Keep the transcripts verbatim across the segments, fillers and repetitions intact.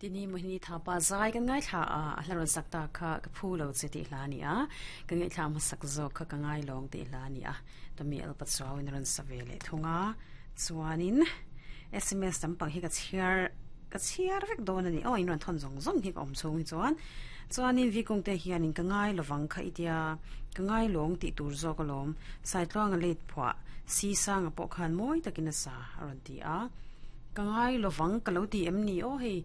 Tini mohini thapa zai kan ngai thla a a hlaron sakta kha ka phu lo che ti hla ni a ka ngai thla ma sak zo kha ka ngai long ti hla ni a tomi alpa chaw in ron savele thunga chuanin S M S tam pang hi ka chiar ka chiar vek don ani o in ron thon zong zong hi ka om chung hi chuan chuanin vi kong te hian in ka ngai lowang kha itia ka ngai long ti tur zo ka lom sai tluang a late phwa si sang a pawh khan mawi takin a sa a rawn ti a ka ngai lowang ka lo ti em ni o hei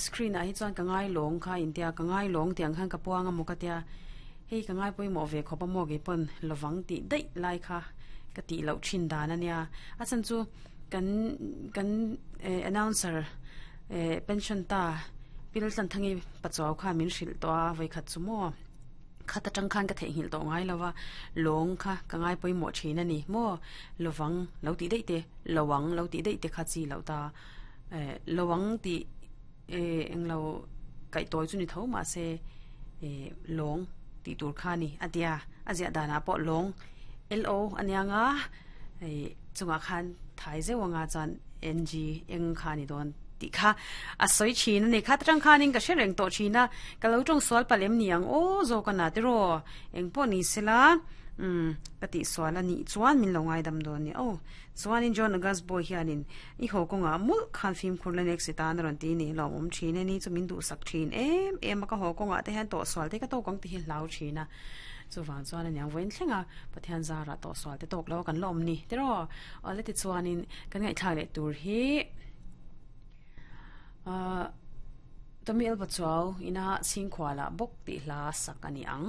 screen ah hi chuan ka ngai lawng kha intia ka ngai lawng tiang khan ka puang a maw ka tia hei ka ngai pawimawh ve khawp a maw ke pawn lowang tih daih lai kha ka tih loh thin dan ania a chhan chu kan kan announcer pension ta pil tlan thangi pachuau khan min hrilh tawh a vawikhat chu maw khat atang khan ka theihnghilh tawh ngai lova lawng kha ka ngai pawimawh thin ani maw lowang lo tih daih te lowang lo tih daih te kha chi loh ta lowang tih englo kaih tawi chu ni tho mah se lawng tih tur kha ni a tia a ziah danah pawh lawng L O ania nga chungah khan thai zeuh anga chuan N G eng kha ni dawn tih kha a sawi thin ani kha atang khanin ka hre reng tawh thin a ka lo tawng sual palem ni ang aw zawk a na te raw eng pawh ni sela um ka tih sual ani chuan min lo ngaidam dawn ni aw chuanin John August boy hianin i haw kawnga mul khan fim khur la next tan a rawn ti ni lawm awm thin ani chu min duh sak thin em em a ka haw kawnga te hian tawh sual te ka tawk ang ti hi hlau thin a chuwang chuan aniang vawiin thlenga Pathian zara tawh sual te tawk lo kan la awm ni te raw awle ti chuanin kan ngaihthlak leh tur hi ah Tomi Elba chuau ina chhingkhuala bawk tih hla sak ani ang.